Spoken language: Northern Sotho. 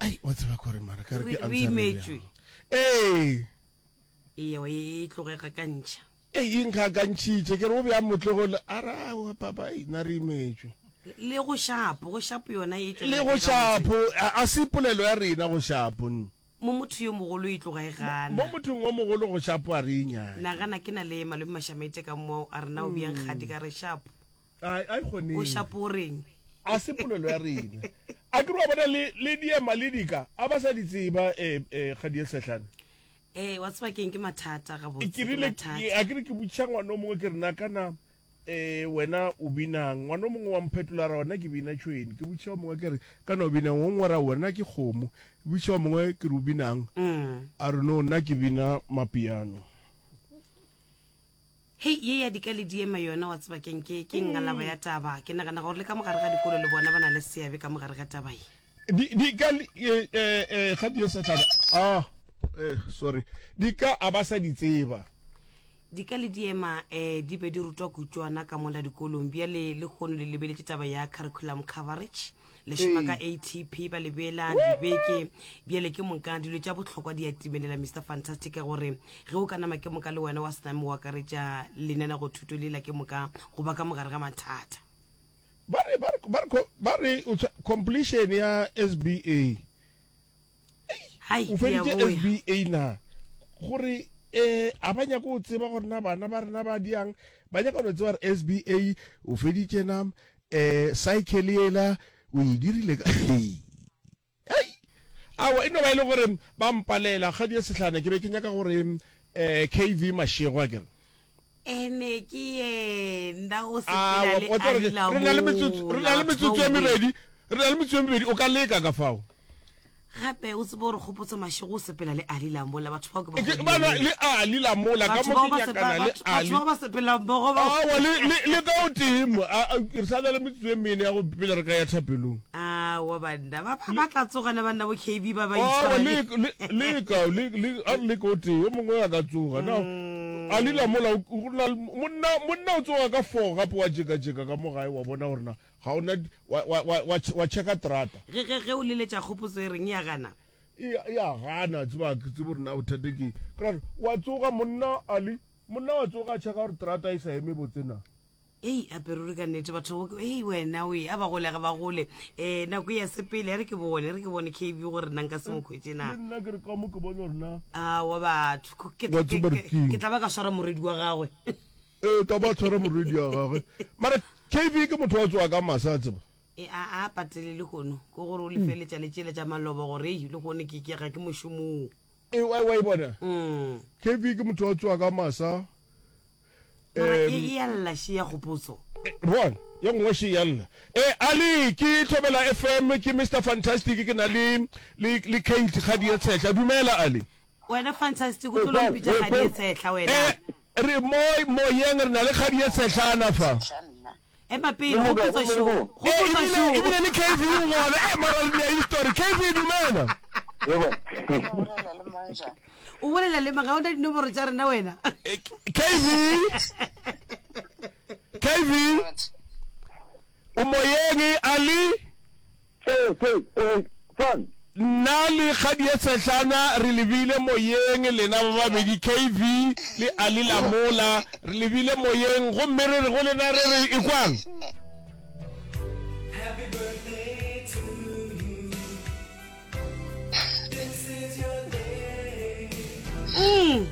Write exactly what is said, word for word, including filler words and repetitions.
Ai, wa tseba kore mara ka re Re ke re answer imetšwe. Ee. Ee, e tloge gakantšha. Ei, e nkgakantšhitše. Ke re o bjang motlogolo? A re, Aowa, papa, ei, nna re imetšwe. Le go šapo, go šapo yona e Le tšwelela go ke gabotse. šapo, a, a se polelo ya rena go šapo. Mo motho yo mogolo e tloga e Mo gana. mothong o mogolo go šapo a re e nyake. Nagana ke na le malome Mašamaite ka mo, a re na o bjang kgadi, ka re šapo. A, a e O kgonege. šapo o reng? A se polelo ya rena. A ke re wa bona le, le diema le dika, a ba sa di tseba, eh, eh, kgadi ye sehlane. Ee, wa tseba keng, ke mathata gabotse, Ke ke rile, mathata. a ke re ke botšiša ngwana o mongwe ke re na kana eh wena o binang, ngwana o mongwe wa mphetola ra wena ke bina tšhwene, ke botšiša o mongwe ke re kana o binang, o mongwe ra wena ke kgomo, ke botšiša o mongwe ke re o binang, Mm. a re no nna ke bina mapiano. Hei, ye ya dika le diema yona wa tseba keng, ke ke ngalaba ya taba. Ke nagana gore le ka mogare ga dikolo le bona ba na le seabe ka mogare ga taba ye. Di dika le eh eh eh ga di sehlana. Ah, eh sorry. Dika a ba sa di tseba. Dika le diema eh di be di rutwa kutšwana ka mola dikolong. Bjale lehono le lebeletše taba ya curriculum coverage. Le šoma ka Ee. A T P ba le beela dibeke. Bjale ke moka dilo tša bohlokwa di a timelela Mister Fantastic ka gore ge o ka nama ke moka le wena wa se name o akaretša lenanego-thuto lela ke moka go ba ka mogare ga mathata. Ba re ba re ba re ba re o tshwa- completion ya S B A. Hai, O ke a feditše boya. S B A na? Gore eh a ba nyaka go tseba gore na bana ba rena ba diang, ba nyaka go tseba gore S B A o feditše na, eh cycle yela o e dirile ka hei. Hei. Aowa e no ba e le gore ba mpalela kgadi ya sehlana, ke be ke nyaka gore eh K V Mashego a ke re. Ene ke yena o sepela Aowa, le wa tseba gore Alila re na le metsotso, re na le mola, metsotso e batho ba mebedi, re na le metsotso e mebedi, o ka leka ka fao. Gape o tsebe gore Kgopotso Mashego o sepela le Ali Lamola, batho bao ke ba Ke ba godileng. le Ali Lamola, ka Batho mo bao ke ba sepa- nyakana le batho- batho Ali. bao ba sepela mmogo ba. Aowa, le, le, le ka o tee mo. A, a, re sa na le metsotso e mene ya go pele re ka ya thapelong. Aowa banna, ba, ba, ba tla tsogana banna bo K B ba ba Aowa, itshwara le, le- le, le ka, le, le, a re le ka o tee, yo mongwe a ka tsoga. Na, Ali Lamola, o, o na le, monna, monna o tsoga ka four gape wa jeka-jeka ka mo gae, wa bona gore na ga o na, wa, wa, wa, wa, wa checka terata. Ge, ge, ge o leletša Kgopotso e reng e a gana? E, e a gana, tseba, ke tsebe gore na bothata ke eng. Ke ra gore, wa tsoga monna Ali, monna wa tsoga a checka gore terata e sa eme botse na. Ei, ape ruri ka nnete batho ba, ei wena oe, a ba gole ga ba gole. Eh, nako e ya sepele, e re ke bone, e re ke bone K B gore nna nka se mo khwetše na. Le nna ke re ka mo ke bone gore na. Aowa batho, ko-, ke, Wa ke, tseba re ke, keng? ke tla ba ka swara morwedi wa gagwe. Ee, tla ba tshwara morwedi wa gagwe. Mara K B ke motho wa tsoga ka masa, a tseba. E, a, a patele lehono, ke gore o lefeletša le tšela tša maloba gore, ei, lehono ke, ke ga ke mošomong. E, wa, wa e bona? Mm. K B ke motho wa tsoga ka masa. Mara Em, e, e a lla še ya Kgopotso. E, bona, ye nngwe še ya lla. E, Ali, ke Thobela F M, ke Mister Fantastic, ke na le, le, le Kate Kgadi ye Tshehla. Dumela, Ali. Wena Fantastic, o tlo lo mpitša Kgadi ye Tshehla wena. E, re mo moyeng, re na le Kgadi ye Tshehlana fa. Ema pele, Kgopotso šo, E, Kgopotso ebile, šo. ebile le K V o gona. E, mara re nea history. K V, dumela. O bolela le mang? Ga o na dinomoro tša rena wena. E, K V, K V, o moyeng, Ali. Nna le Kgadi ye Tshehlana re lebile moyeng, lena ba babedi K V le Ali Lamola, re lebile moyeng gomme re re go lena re re ekwang. Happy birthday to you. This is your day. Mm.